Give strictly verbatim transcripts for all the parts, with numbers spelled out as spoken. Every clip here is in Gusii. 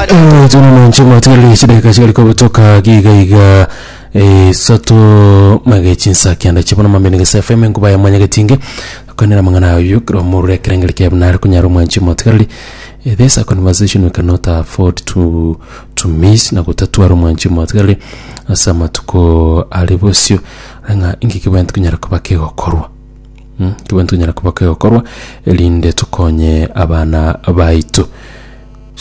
Tuna mwanchi chidakika chigari kobutoka giga iga isato mage chinsa kianda chibona mambe gese F M nkuba ya mwanya getinge konera mangana ayo kro murure kerengeri kia bunare kunyara mwanchi motigarari. This a conversation we cannot afford to to miss na gutatua mwanchi motigarari asa matuko ari bosio nga ingi kibwentu kunyara kuba kegokorwa mm kibwentu kunyara kuba kegokorwa elinde tukonye abana baitu.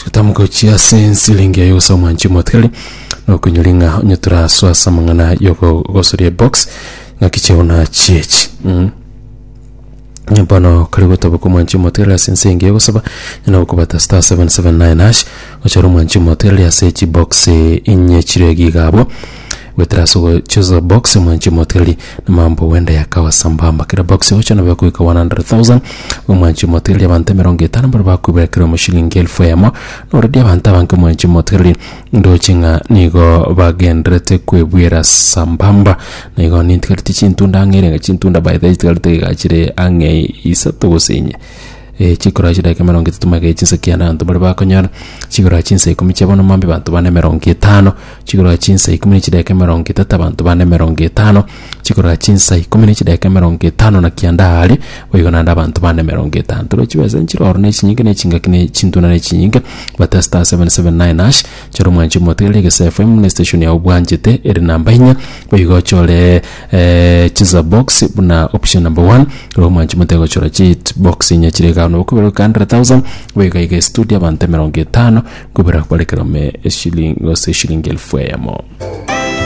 Shitamuko chia sensi lingi ayo sa mwanchi motigarari no kunyuringa onyetura swasa mangana yoko gosoria box ngakicheona chiechi mm nyambano karibu tabuko mwanchi motigarari sensi ingi yogosaba nyana kubata star seven seven nine hash ochoro mwanchi motigarari ase chi box inye chiregi gabo wetraso choza box mwanchi motigarari na mambo wenda yakawa sambamba kila box ocho na bakuika one hundred thousand mwanchi motigarari abantu mirongo itano bari bakubekera mu shilingi elfu emo no already abantu abanke mwanchi motigarari ndochinga nigo bagendrete kwebwera sambamba nigo nintigariti chintunda ngere chintunda by the tigariti gachire ange isato gosenye e chikora chidaka mirongo itatu mage chinsa kianda abantu bari bakonyora chikora chinsa ikumi chiabono mambe bantu bane mirongo itano chikora chinsa ikumi n'chidaka mirongo itatu abantu bane mirongo itano chikora chinsa ikumi n'chidaka mirongo itano na kianda hari boigo nanda abantu bane mirongo itano turo chibesa nchiroro nechinyinge nechingaki nechintuna nechinyinge bata star seven seven nine hash choro mwanchi motigarari gese F M ne station ya obwanchete eri namba inya boigo chore eh, chiza box buna option number one ro mwanchi motego chora chi box inya chirega no kubera one hundred thousand wega iga studio abantu mirongo itano kubera kwarekera me shilingi gose shilingi elfu eyemo.